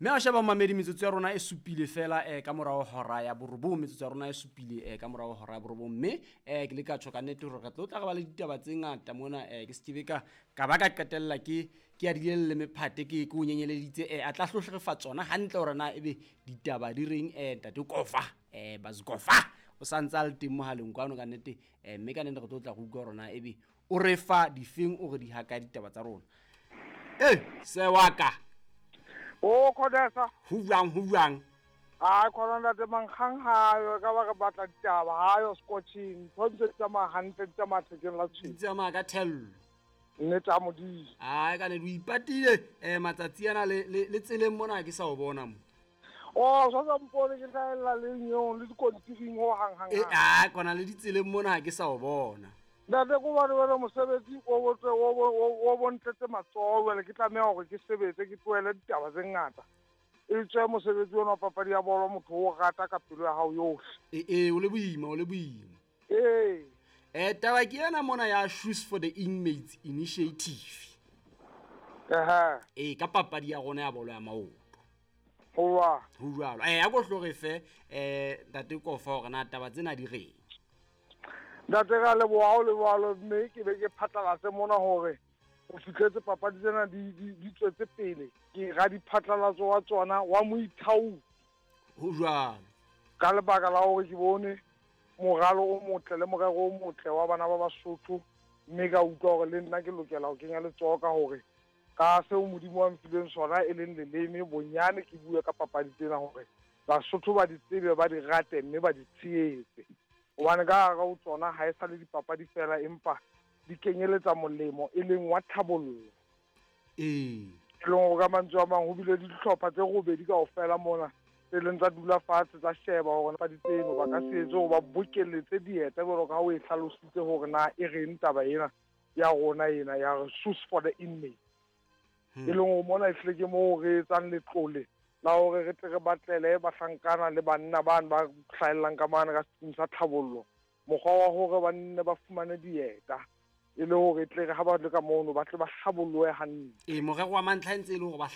Mme a sheba mamedi, metsotso ya rona e supile fela ka morao hora ya borobong. Metsotso ya rona e supile ka morao hora ya borobong, mme ke le ka tjho ka nnete hore re tlo tla re ba le ditaba tse ngata mona. Ke se ke be ka ba ka qetella ke adile le mephate, ke o nyenyeleditse. A tla hlohle re fa tsona hantle hore na ebe ditaba di reng. Ntate Kofa, Bazikofa o sa ntse a le teng mohaleng kwano ka nnete. Mme ka nnete re tlo tla re utlwa hore na ebe o re fa difeng, o re di haka ditaba tsa rona. Se wa ka. O Khodesa. Ho jwang, ho jwang? Ai khona ntate, mankgang hayo ka ba re batla ditaba hayo scotching. Ntho ntse di tsamaya hantle, di tsamaya thekeng la di tshwene. Tsamaya ka thello. Nnete a Modimo. Ai ka ne o ipatile matsatsi ana le tseleng mona ke sa o bona mo. O sa mpone ke hlahella le nyong le dikontiring ho hang hang. Ai kona le ditseleng mona ke sa o bona. Ntate ko bane wena mosebetsi o botse o bontletse matsoho, jwale ke tlameha hore ke sebetse, ke tlohele ditaba tse ngata. E tswe mosebetsi ona wa papadi ya bolo, motho o rata ka pelo ya hao yohle. O le boima, o le boima. Ee. Taba ke ena mona ya Shoes for the Inmates Initiative. Ehe. Ka papadi ya rona ya bolo ya maoto. Ho Ho jwalo. A ko hlo re fe ntate Kofa hore na taba tsena di reng. Ntate ka leboha o le jwalo, mme ke be ke phatlalatse mona hore o fihletse papadi tsena di tswetse pele. Ke ra diphatlalatso wa tsona wa moithaopi. Ho jwalo. Ka lebaka la hore ke bone moralo o motle le morero o motle wa bana ba Basotho, mme ka utlwa hore le nna ke lokela ho kenya letsoho ka hore ka seo Modimo wa mfileng sona e leng leleme, bonyane ke bue ka papadi tsena hore Basotho ba di tsebe, ba di rate mme ba di tshehetse. Hobane ka hara ho tsona ha e sa le dipapadi fela, empa di kenyeletsa molemo e leng wa tlhabollo. E leng hore ka mantswe a mang ho bile le dihlopha tse robedi kaofela mona tse leng tsa dula fatshe tsa sheba hore papadi tseno ba ka se etse hore ba bokelletse dieta jwalo ka ha o e hlalositse hore na e reng taba ena ya rona ena ya re Shoes for the Inmates. E leng hore mona ehlile ke moo re etsang letlole la hore re tle re batlele bahlankana le banna bane ba hlahellang ka mane ka setsing sa tlhabollo mokgwa wa hore ba nne ba fumane dieta e le hore e tle re ha ba le ka mono ba tle ba hlabollohe hantle. Morero wa mantlha e ntse e le hore ba